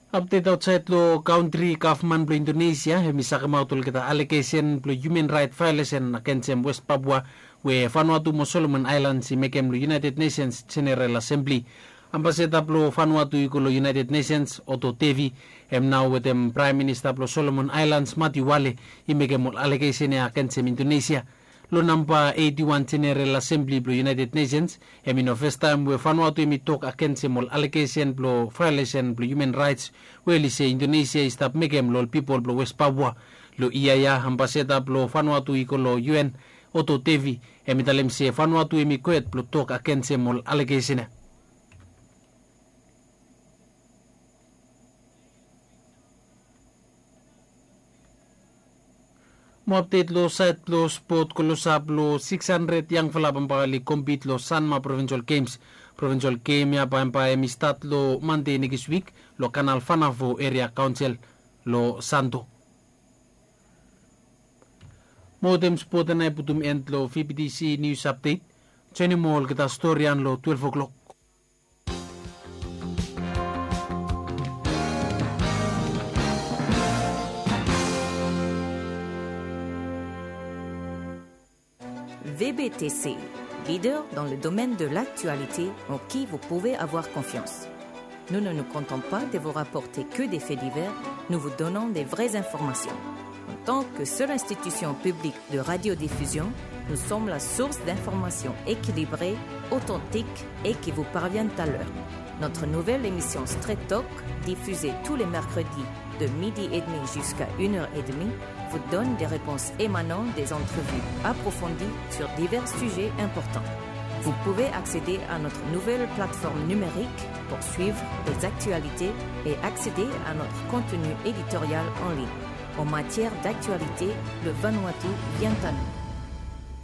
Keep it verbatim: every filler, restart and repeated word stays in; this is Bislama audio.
Apdet aotsaed long kantri, gavman blong Indonesia hem i sakemaot olgeta alegesen blong hiuman raet vaeolesen agensem West Papua, we Vanuatu mo Solomon Aelans i mekem long United Nesens Jeneral Asembli. Ambaseda blong Vanuatu i go long United Nesens, Otto Devi, hem nao wetem Praem Minista blong Solomon Aelans, Mati Wale, i mekem ol alegesen ya agensem Indonesia. Long namba eiti wan Jeneral Asembli blong United Nesens, hem i no fastaem we Vanuatu hem i tok agensem ol alegesen blong vaeolesen blong hiuman raets we oli se Indonesia i stap mekem long ol pipol blong West Papua. Long yia ya, ambaseda blong Vanuatu i go long U N, Otto Devi, hem i talem se Vanuatu hem i gweet blong tok agensem ol alegesen ya. Mo apdet long saed blong spot, klosap long six hundred yangfala bambae oli kompit long Sanma Provincial Games. Provincial Game ya bambae hem i stat long Mande nekis wik long Kanal Fanafo Eria Kaonsel long Santo. Mo wetem spot ya nao i putum en long V B T C News Update. Joenem olgeta storian long twelve o'clock. V B T C, leader dans le domaine de l'actualité en qui vous pouvez avoir confiance. Nous ne nous contentons pas de vous rapporter que des faits divers, nous vous donnons des vraies informations. En tant que seule institution publique de radiodiffusion, nous sommes la source d'informations équilibrées, authentiques et qui vous parviennent à l'heure. Notre nouvelle émission Straight Talk, diffusée tous les mercredis de midi et demi jusqu'à une heure et demie, vous donne des réponses émanant des entrevues approfondies sur divers sujets importants. Vous pouvez accéder à notre nouvelle plateforme numérique pour suivre les actualités et accéder à notre contenu éditorial en ligne. En matière d'actualité, le Vanuatu vient à nous.